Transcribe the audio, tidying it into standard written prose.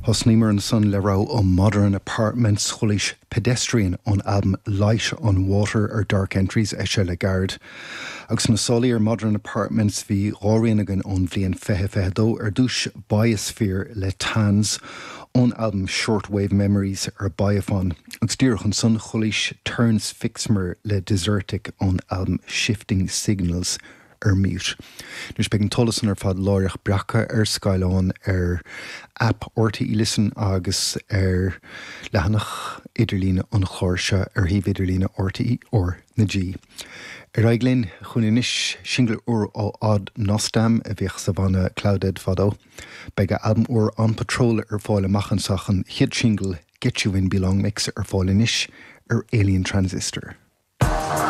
Thosnaíomar ansan le rogha ó Modern Apartments, chualaís Pedestrian ón albam Light on Water ar Dark Entries, eisithe le gairid. Agus sna sálaí ar Modern Apartments bhí rian againn ón bhliain 2022, ar dtús Biosphere le Tans ón albam Shortwave Memories ar Biophon, agus díreach ansan chualaís Terence Fixmer le Desertic ón albam Shifting Signals ar Mute. Anois beidh an t-eolas san ar fad láithreach breactha ar scáileán ar aip RTÉ Listen agus ar leathanach idirlíne an chláir seo ar shuíomh idirlíne RTÉ R na G. Ar aghaidh linn chugainn anois, singil úr ó Odd Nosdam a bhíodh sa bhanna cLOUDDEAD fadó. Beidh a albam úr On Patrol ar fáil amach anseo ach an chéad singil Get You In Belong Mix ar fáil anois ar Alien Transistor.